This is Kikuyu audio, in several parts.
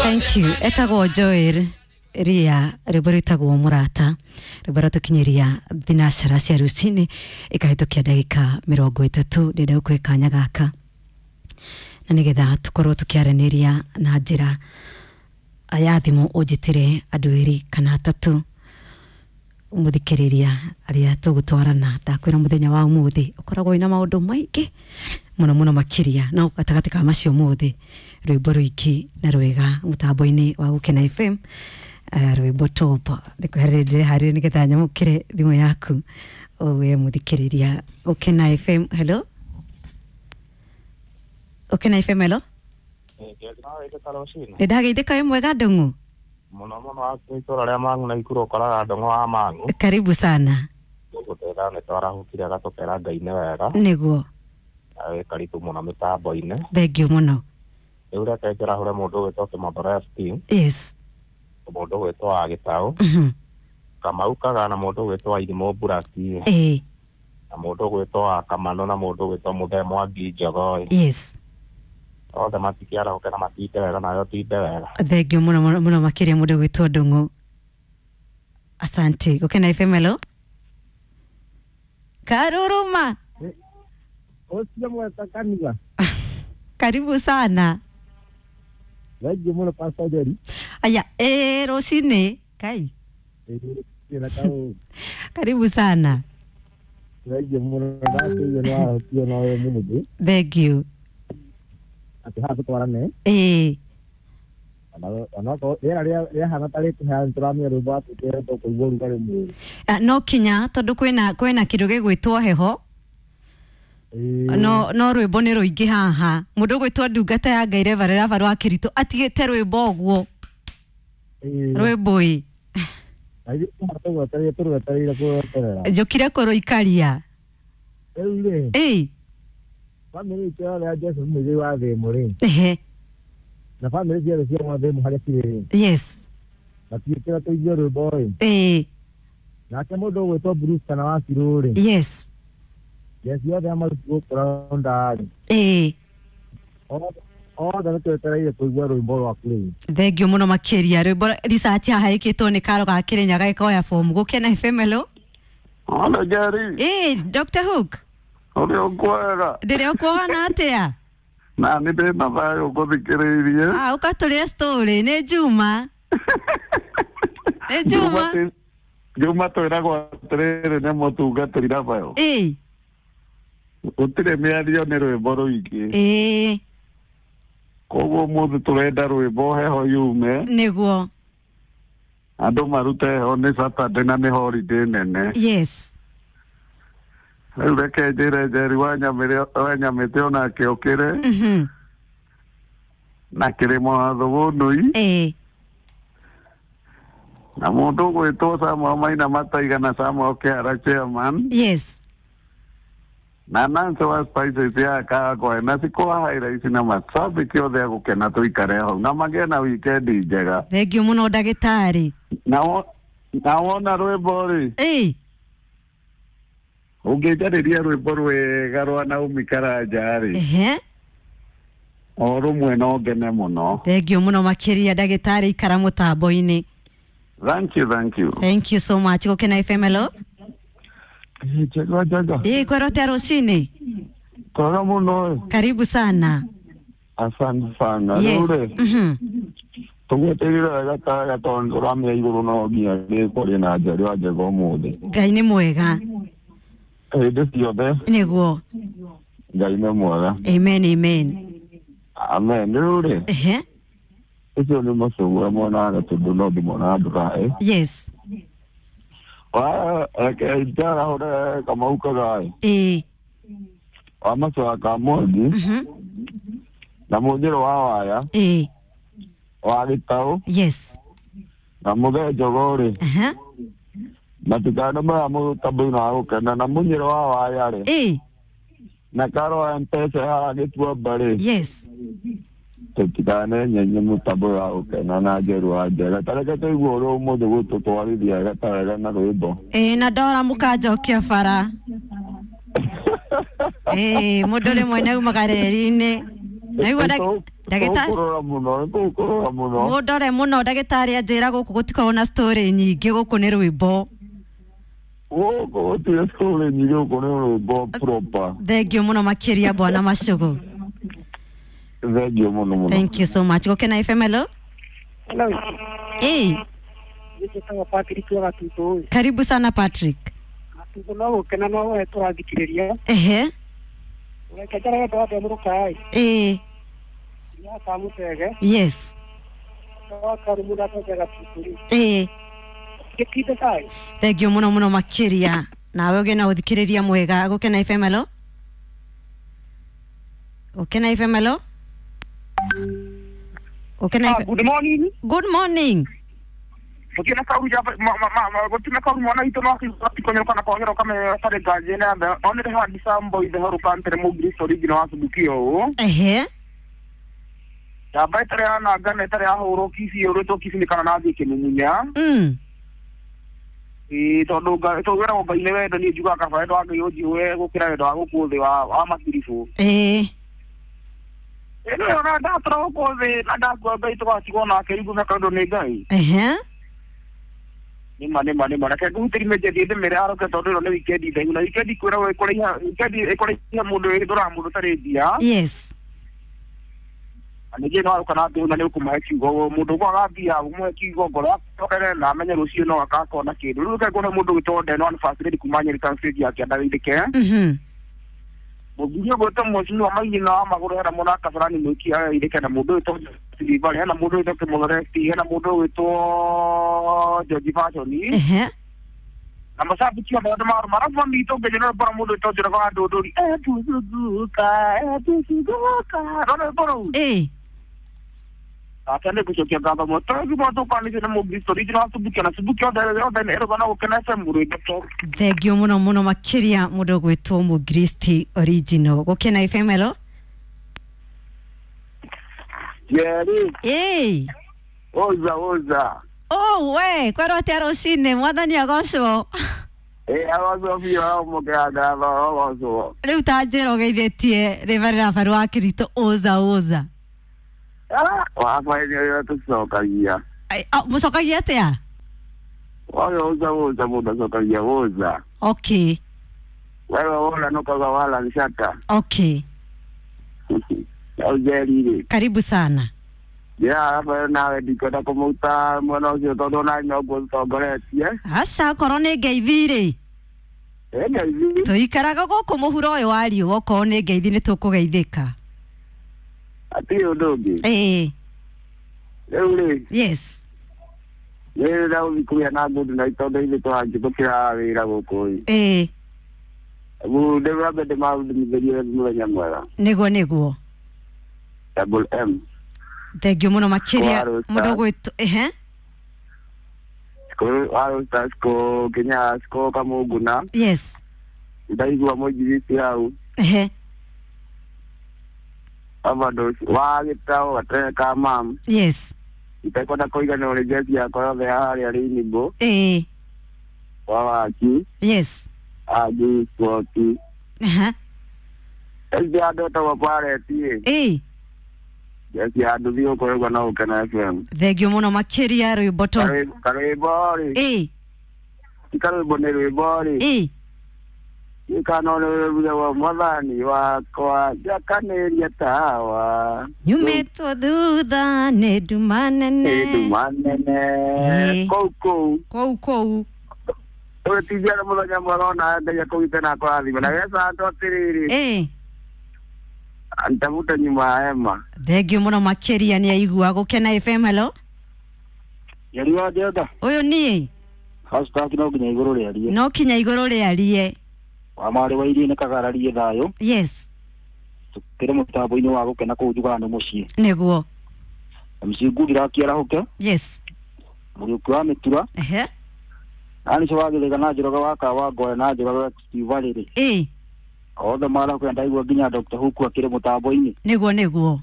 Thank you. Etagwo Joel ria rwĩmbo rwĩtagwo mũrata, rwĩmbo rwatũkinyĩria thinacara cia rũcinĩ ĩkahĩtũkia ndagĩka 30. Ndĩrenda gũkũhe kanya gaka na nĩgetha tũkorwo tũkĩaranĩria na njĩra ya thimũ, ũnjĩtĩre andũ erĩ kana atatũ mũthikĩrĩria arĩa tũgũtwarana. Ndakwĩra mũthenya wa ũmũthĩ ũkoragwo wĩna maũndũ maingĩ mũno mũno makĩria, no gatagatĩ ka macio mothe rwĩmbo rũingĩ na rwega mũtambo-inĩ wa Gũkena FM, rwĩmbo top. Ndĩkweherere ndĩreharĩria nĩgetha nyamũkĩre thimũ yaku we mũthikĩrĩria Gũkena FM. Hello, Gũkena FM, hello. Nĩ ndageithĩka, wĩ mwega Ndung'u? Muno muno, itũra rĩa Mang'u na Ikuru ũkoraga Ndung'u wa Mang'u. Karibu sana. Gũgũtwĩra nĩ twarahũkire gatũkera Ngai nĩ wega. Nĩguo. Na wĩ karibu mũno mĩtambo-inĩ. Thengiũ mũno. Rĩu reke njĩrahũre mũndũ ũgwĩtwo Kĩmondoro FT, mũndũ ũgwĩtwo wa Gĩtaũ, Kamau Kaga, na mũndũ ũgwĩtwo wa Irimũ Mburaki, na mũndũ ũgwĩtwo wa Kamano, na mũndũ ũgwĩtwo Mũthee Mwangi Njogoi. Othe matikĩarahũke na matinde wega, nawe ũtinde wega. Thengiũ mũno mũno mũno makĩria mũndũ ũgwĩtwo Ndung'u, asante. Gũkena FM, hello. Karuruma. Ũcio mweka kanitha. Karibu sana. Thengiũ mũno, Pastor Jerry. Aya, rũcinĩ kai. Ĩna kaũ. Karibu sana. Thengiũ mũno, ndakĩigua nĩ wahotio na ũyũ mũthĩ. Thengiũ. Atĩ haha tũtwarane. Onokorwo rĩera rĩahana ta rĩkũheana, nĩtũramenya rwĩmbo watwĩkĩre tũkũigua ũrugarĩ mwĩrĩ. Ah, no kinya tondũ kwĩna kĩndũ gĩgwĩtwo heho. No rwĩmbo nĩ rũingĩ haha. Mũndũ ũgwĩtwo ndungata ya Ngai Reverend Abarũ wa Kĩritũ atigĩte rwĩmbo ũguo. Rwĩmbo ĩ. Na ithuĩ tũgwetereire, tũrwetereire kũrweterera. Njũkire kũrũikaria. Rĩu rĩ, bamĩrĩ itũ yothe ya Joseph Mũigai wa Thĩmũ rĩ, na bamĩrĩ ciothe cia Mwathĩmũ harĩa cirĩ rĩ, matiĩkĩra tũigue rwĩmbo ĩ. Nake mũndũ ũgwĩtwo Bruce kana wa Cirũ rĩ, jeci yothe ya maruti gũkũ raunda rĩ, othe nĩ twetereire kũigua rwĩmbo rwaku rĩu. Thengiũ mũno makĩria. Rwĩmbo research haha ĩkĩtwo nĩ karo ga Kĩrĩnyaga gĩkoya fomu. Gũkena FM, hello. Hola Jerry, Dr. Hook. Ũrĩ ũkwega? Ndĩrĩ ũkuona atĩa? Na nĩ ndĩna thayũ ngũthikĩrĩirie. Ah, ũkatũrĩa story nĩ Juma, nĩ Juma. Juma twĩragwo atĩrĩrĩ nĩ mũtungatĩri Rafael. Gũtirĩ mĩario, nĩ rwĩmbo rũingĩ. Koguo ũmũthĩ tũrenda rwĩmbo heho yume, andũ marute heho, nĩ Saturday na nĩ holiday nene. Rĩu reke njĩre Njeri wa Nyamĩtĩ onake ũkĩre, na Kĩrĩma wa Thũgũnũi, na mũndũ ũgwĩtwo Samuel Maina Mataiga na Samuel Kĩhara chairman, na Nancy wa Spices ya Kagwe na Cikwa Highlights na mashabiki othe a gũkena, tũikare hau na magĩe na wikendi njega. Thengiũ mũno ndagĩtarĩ. Na wona rwĩmbo rĩ, ũngĩnjarĩria rwĩmbo rwega rwa Naomi Karanja rĩ, o rũmwe no ngene mũno. Thengiũ mũno makĩria ndagĩtarĩ, ikara mũtambo-inĩ. Thank you, thank you. Thank you so much. Gũkena FM, hello. Njega njega. Kwĩra ũtĩa rũcinĩ? Twega mũno ĩ. Karibu sana. Asante sana. Rĩu rĩ, tũgwetereire wega ta tondũ tũramenya igũrũ no nginya rĩkwaria na Njeri wa Njega ũmũthĩ. Ngai nĩ mwega. Hĩndĩ ciothe. Ngai nĩ mwega. Amen, amen. Amen. Rĩu rĩ, ũcio nĩ mũcũgũ monaga tondũ no ndĩmonaga ndũraĩ. Reke njarahũre Kamau Kagaĩ wa Macoa ka Mwangi, na Mũnjĩrũ wa Waya wa Gĩtaũ, na Mũthee Njogoo rĩ, matikano maya mũtambo-inĩ wa gũkena, na Mũnyĩrũ wa Waya rĩ, na Karo wa Mpesa haha Gĩtuamba rĩ, tũtikane nyenye mũtambo wa gũkena na Njeru wa Njega. Ta reke tũigue ũrĩa ũmũthĩ gũtũtwarithia wega ta wega na rwĩmbo. Na ndora mũkanjokia bara. Mũndũ rĩmwe nĩ aumaga reri-inĩ. Naigua. Ndagĩtarĩ Tũkũrora mũno, tũkũrora mũno. Mũndore mũno ndagĩtarĩ anjĩra gũkũ gũtikoragwo na story nyingĩ gũkũ nĩ rwĩmbo. Gũkũ gũtirĩ story nyingĩ gũkũ nĩ rwĩmbo proper. Thank you mũno makĩria bwana Macugu. Thank you mũno mũno. Thank you so much. Gũkena FM hello. Hello. Eh, Njĩtagwo Patrick wa Gatutu. karibu sana Patrick. Gatutu no gũkena no we tũrathikĩrĩria. Ehe. Reke njare wendo wa ndemũrũka Eh, ya kamũtege. yes. Wa karumu ndatege Gatutu rĩ. Eh, Gĩtinde thayũ. thank you mũno mũno makĩria. Nawe ũgĩe na ũthikĩrĩria mwega. Gũkena FM hello. Gũkena FM hello. Gũkena FM. Good morning. Good morning. Gũtirĩ na kauru jaba gũtirĩ na kauru mwana witũ no akikonyoroka na kwagĩra ũkamenya tarĩ nganje na mbe onere handi sambo ithe horuka ntere mũngiristo original wa Subukia ũũ. Ehe. Njamba ĩtarĩ ya nanga na ĩtarĩ yahũrwo kici yũrĩtwo kici nĩ kana nathiĩ kĩmumunya. Ĩĩ tondũ tũgĩragwo Ngai nĩ wendo niĩ njugaga kaba wendo wa Ngai ũnjihũre gũkĩra wendo wa gũkũ thĩ wa matiribũ. Ĩno ona ndatũra gũkũ thĩ na ndakua Ngai tũgatigwo nake rĩu ngũmeka ũndũ nĩ Ngai. Ehe. Nĩma nĩma nĩma reke ngũhutĩrie mĩnje thiĩ ndĩmĩre aroke tondũ ĩno nĩ wikendi ndaihu na wikendi kwĩragwo ĩkũraiha wikendi ĩkũraiha mũndũ ĩthũraga mũndũ ũtarĩ mbia. Yes. Na ningĩ no aroka na ndĩu na nĩ ũkũmũhe kiugo mũndũ ũkwaga mbia ũmũhe kiugo ngoro acokere na amenye rũciũ no akakona kĩndũ. Rĩu reke nguone mũndũ ũgwĩtwo Ndeno Anniversary kuma Nyeri Town stage ya Kĩanda Wĩthĩke. Mũthuri ũgwĩtwo Mheshimiwa Maigina wa Magũrũ hena mũna Kabarani Mwĩki Wĩthĩke na mũndũ ũgwĩtwo Silivali hena mũndũ ũgwĩtwo Kĩmũthoreti hena mũndũ ũgwĩtwo George Fashion. Ehe. Na macambĩki othe andũ marũ marabu mamitũ ngĩnyo no mbora mũndũ ũgwĩtwo Njoroge wa Ndũndũri etucunguka etucunguka no nĩ mbora rũu. Ake nĩ ngũcokia ngatho mũno tondũ ngima tũkwanĩtie na mũkristo original wa Subukia na Subukia othe othe nĩ ĩrũga na gũkena FM rwĩmbo to. Thank you mũno mũno makĩria mũndũ ũgwĩtwo mũngiristi original. Gũkena FM hello. Jerry. Ĩĩ. Oza oza. Oh we, kwĩrwo atĩa rũcinĩ mwathani agocwo. Ĩĩ agocwo biũ amũkĩra ngatho agocwo. Rĩu ta njĩra ũgeithĩtie rĩbarĩra baru wa Kirito ũza ũza. Wakwa nĩ ũrĩa tũcokagia. Mũcokagia atĩa? Waga ũza ũza mũndũ acokagia ũza. Okay. Wewe wona nũkaga wala nshaka. Okay. Rĩu Jerry rĩ. Karibu sana. Ya hapa nawe ndikwenda kũmũta mwena ũcio tondũ ona noguo tũtongoretie. Aca okorwo nĩ ngeithi rĩ. Ĩ ngeithi. Tũikaraga gũkũ mũhuro ũyũ wa riũa okorwo nĩ ngeithi nĩ tũkũgeithĩka. Hatirĩ ũndũ ũngĩ. Ĩĩ. Rĩu rĩ. Yes. Nĩ ndagũthiĩ kũgĩa na good night tondũ ithuĩ tũrangĩtũkĩra wĩra gũkũ ĩ. Ĩĩ. Ndĩrambe ndĩmathimithĩrie mũthenya mwega. Nĩguo nĩguo. Double M. Thank you mũno makĩria mũndũ ũgwĩtwo ehe. Wa Siko Kenya Siko Kamũnguna. Yes. Ndaigua mũinjiriti hau. Ehe. Overdose wa gĩtaũ gatere ka mam. Yes. Itekwenda kũiganĩrwo nĩ jezi yakwa yothe ya harĩa Rainbow. Ĩĩ. Wa waki. Yes. Angi Spoti. Aha. Ĩndĩ andũ etagwo Pareti ĩ. Ĩĩ. Jezi ya nduthi ũkũrĩgwo na Gũkena FM. Thank you mũno makĩria rwĩmbo to. Karwĩmbo rĩ. Ĩĩ. Ti karwĩmbo nĩ rwĩmbo rĩ. Ĩĩ. Gĩkano nĩ rwĩmbo mwathani wakwa njakanĩria tawa. Nyumĩtwo thutha nĩ nduma nene. Nĩ nduma nene. Kũu kũu. Kũu kũu. Ũgĩtindia na mũthenya mwega ona Ngai akũgite na akũrathime. Na geca andũ atĩrĩrĩ. Ĩĩ. Nitavuta nyuma ya hema. Thank you mũno makĩria nĩ aigua. Gũkena FM hello. Njeri wa Njenga. Ũyũ niĩ. Hashtag no nginya igũrũ rĩarie. No kinya igũrũ rĩarie. Wa marĩ wa iria nĩ kagararie thayũ. Yes. Tũkĩrĩ mũtambo-inĩ wa gũkena kũu njugaga nĩ mũciĩ. Nĩguo. MC Ngũgira akĩarahũke. Yes. Mũriũki wa mĩtura. Ehe. Anice wa Gĩthĩga na Njoroge wa Kawa Ngoya na Njoroge wa Steve Valley. Ĩĩ. Othe marahũke ndaigua nginya Dr. Huku akĩrĩ mũtambo-inĩ. Nĩguo nĩguo.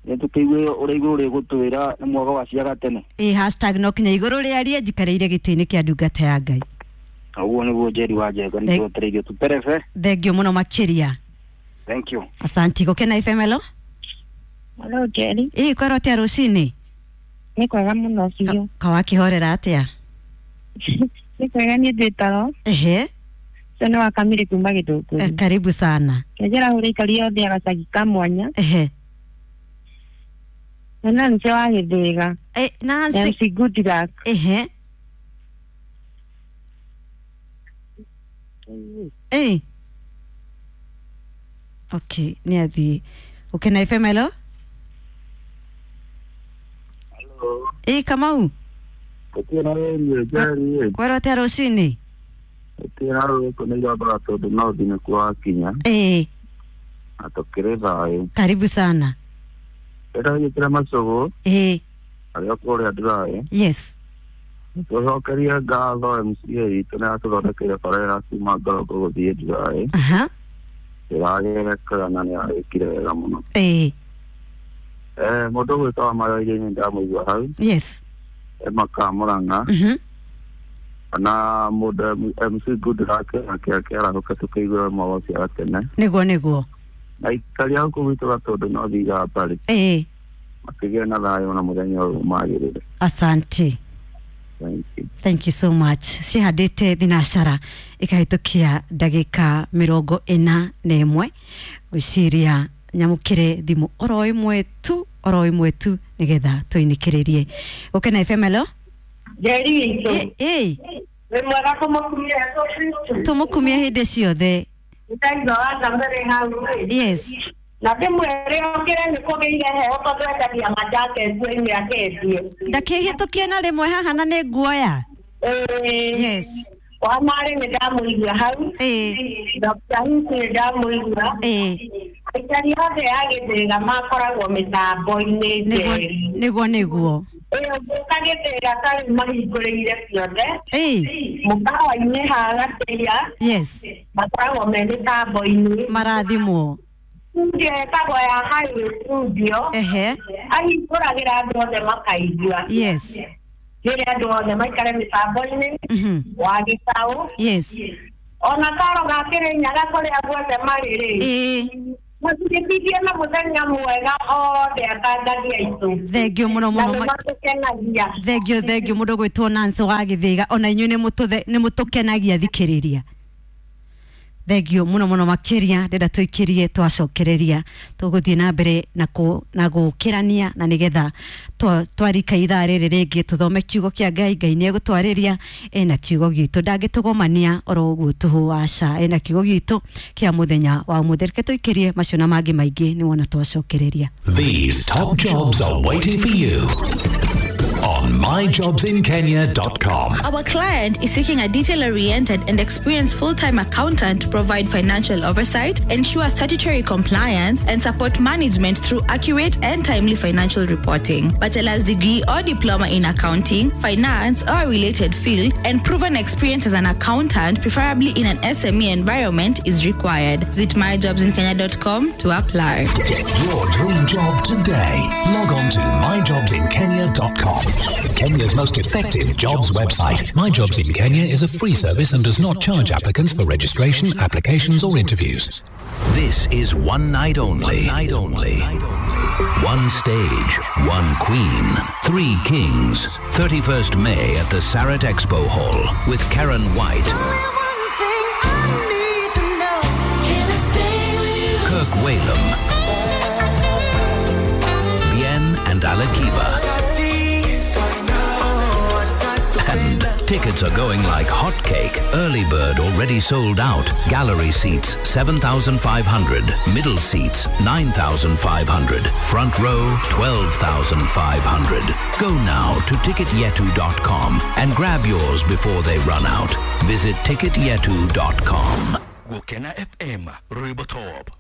Nĩ tũkĩigue ũrĩa igũrũ rĩgũtwĩra nĩ mwaga wa ciaga tene. Ĩĩ hashtag no kinya igũrũ rĩarie njikarĩire gĩtĩ-inĩ kĩa ndungata ya Ngai. Ũguo nĩguo Njeri wa Njenga nĩ twetereire tũterebe. Thank you mũno makĩria. Thank you. Asante. Gũkena FM hello. Hello Jerry. Ĩ kwĩrwo atĩa rũcinĩ? Nĩ kwega mũno biũ. Kawakĩhorera atĩa? Nĩ kwega niĩ ndĩtagwo. Ehe. Ũcio nĩ wa Kamiri kuma Gĩthũngũri. Karibu sana. Kenjera hũra ikaria othe agacagi ka mwanya. Ehe. Na Nancy wa Gĩthĩga. Nancy. Nancy good luck. Ehe. Okay, nĩ athiĩ. Gũkena FM, hello? Hello. Ĩ Kamau. Gũtirĩ na wĩri Njeri. Kwĩrwo atĩa rũcinĩ? Gũtirĩ na rũgũkũ nĩ irombaga tondũ no thiĩ nĩkuo wakinya. Ĩ. Na tũkĩrĩ thayũ. Karibu sana. Ndĩragĩkĩra macũgũ. Ĩ. Arĩa kũrĩa ndĩraĩ. Yes. Tũcokerie ngatho MCA itũ nĩ atũthondekeire bara ya kuma Ngorongoro gũthiĩ Ndiraĩ. Aha. Ĩragereka na nĩ arĩkire wega mũno. Ĩ. Mũndũ ũgwĩtwo wa Maroirie-inĩ ndamũigua hau. Yes. Makamũrang'a. Na mũndũ MC Goodluck nake akĩarahũka tũkĩigua mawaci tene. Nĩguo nĩguo. Na ikaria gũkũ gwitũ Gatũndũ no thiaga mbarĩ. Ĩ. Makĩgĩa na thayũ na mũthenya ũyũ magĩrĩre. Asante. Thank you. Thank you so much. Cihandĩte thinacara ikahĩtũkia ndagĩka 41 gwĩciria nyamũkĩre thimũ oro ĩmwe tu oro ĩmwe tu nĩgetha tũinĩkĩrĩrie. Gũkena FM, hello? Njeri witũ. Ĩ. Wĩ mwega kũmũkumia Jesũ Kristo. Tũmũkumie hĩndĩ ciothe. Nĩndaigua watambere hau. Yes. Na ndĩmwĩre okĩre nĩ kũgĩire heho tondũ endagia majake nguo-inĩ akendie. Ndakĩhĩtũkie na rĩmwe haha na nĩ nguoya. Ĩĩ. Yes. Wa marĩ nĩ ndamũigua hau. Ĩĩ. Dr. Hiti nĩ ndamũigua. Ĩĩ. Aikari othe a Gĩthĩga makoragwo mĩtambo-inĩ Njeri. Nĩguo nĩguo. Ĩĩ ũngĩũka Gĩthĩga tarĩu mahingũrĩire ciothe. Ĩĩ. Mũkawa-inĩ ha Gatĩia. Yes. Makoragwo me mĩtambo-inĩ. Marathimwo. Studio ĩtagwo ya Highway Studio. Ehe. Ahingũragĩra andũ othe makaigua. Yes. Rĩrĩa andũ othe maikare mĩtambo-inĩ. Wa Gĩtaũ. Yes. Ona karo ga Kĩrĩnyaga kũrĩa guothe marĩ rĩ. Ĩĩ. Matigĩtithie na mũthenya mwega othe atangathi aitũ. Thengio mũno mũno. Na nĩmatũkenagia. Thengio thengio mũndũ gwĩtwo Nancy wa Gĩthĩga ona inyuĩ nĩ mũtũkenagia thikĩrĩria. Thengio mũno mũno makĩria ndĩrenda tũikĩrie twacokereria tũgũthiĩ na mbere na gũkĩrania na nĩgetha twarika ithaa rĩrĩ rĩngĩ tũthome kiugo kĩa Ngai. Ngai nĩ egũtwarĩria ena kiugo gitũ ndangĩtũgomania oro ũguo tũhũ aca ena kiugo gitũ kĩa mũthenya wa ũmũthĩ. Reke tũikĩrie macio na mangĩ maingĩ nĩwona twacokereria. These top jobs are waiting for you on myjobsinkenya.com. Our client is seeking a detail-oriented and experienced full-time accountant to provide financial oversight, ensure statutory compliance, and support management through accurate and timely financial reporting. Bachelor's degree or diploma in accounting, finance, or a related field, and proven experience as an accountant, preferably in an SME environment, is required. Visit myjobsinkenya.com to apply. Get your dream job today. Log on to myjobsinkenya.com. Kenya's most effective jobs website. My Jobs in Kenya is a free service and does not charge applicants for registration, applications or interviews. This is one night only. One night only. One stage, one queen, three kings. 31st May at the Sarat Expo Hall with Karen White, Kirk Whalum, Bien and Alakiba. And tickets are going like hotcake. Early bird already sold out. Gallery seats 7,500. Middle seats 9,500. Front row 12,500. Go now to ticketyetu.com and grab yours before they run out. Visit ticketyetu.com. Gukena FM, Rwimbo Top.